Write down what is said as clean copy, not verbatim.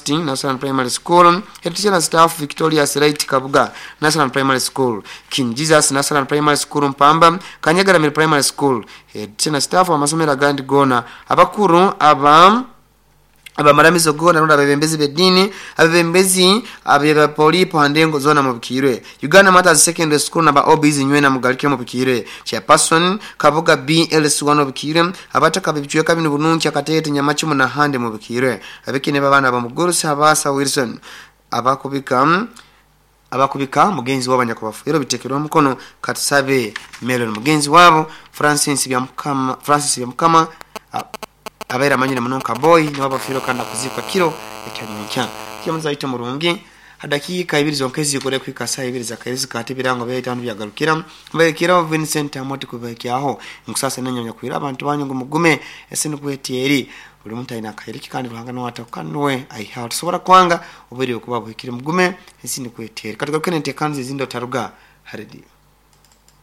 University, National Primary School, Head Teacher na Staff, Victorious Light Kabuga National Primary School, King Jesus National Primary School Mpamba, Kanyagaramire Primary School, Head Teacher na Staff amasomero agandi goona, abakuru aba abamaramizo goona rundi abebembezi b'ediini, abebembezi abeba polipo ha ndengo zoona mubikiirwe. Uganda Martyrs Secondary School na ba OBs nywena mugarukire mubikiirwe. Chairperson, Kabuga BLC1 obikiirwe, abataka b'ebicweka binu Bununki, Akateete, Nyamacumu n'ahandi mubikiirwe. Abekine b'abaana b'omugurusi Habaasa Wilson abakubika abakubika mugenzi waabo anyakubafiire biteekerweho omukono Katusabe Melon mugenzi waabo Francis Byamukama Francis Byamukama abaire amanyire muno nka Boy niwe abafiirwe kandi akuziikwa kiro ekya nyenkya. Kyomuza waitu omurungi, ha dakiika ibiri zonka ezigure kuhika saaha ibiri z'akairizi ka Tibirango byaitu hanu byagarukira. Mbahekereho Vincent Amooti kubahikyaho. Nkusaasira nainywe abanyakwire abantu banyu ngu mugume ensi nikwo eti eri. Buri muntu aine akaire ke kandi Ruhanga nuwe ataho kandi nuwe aihaho. Tosobora kwanga obwire kuba buhikire. Mugume ensi nikwo eti eri. Katugaruke n'enteekaniza ezindi otaruga ha rediyo.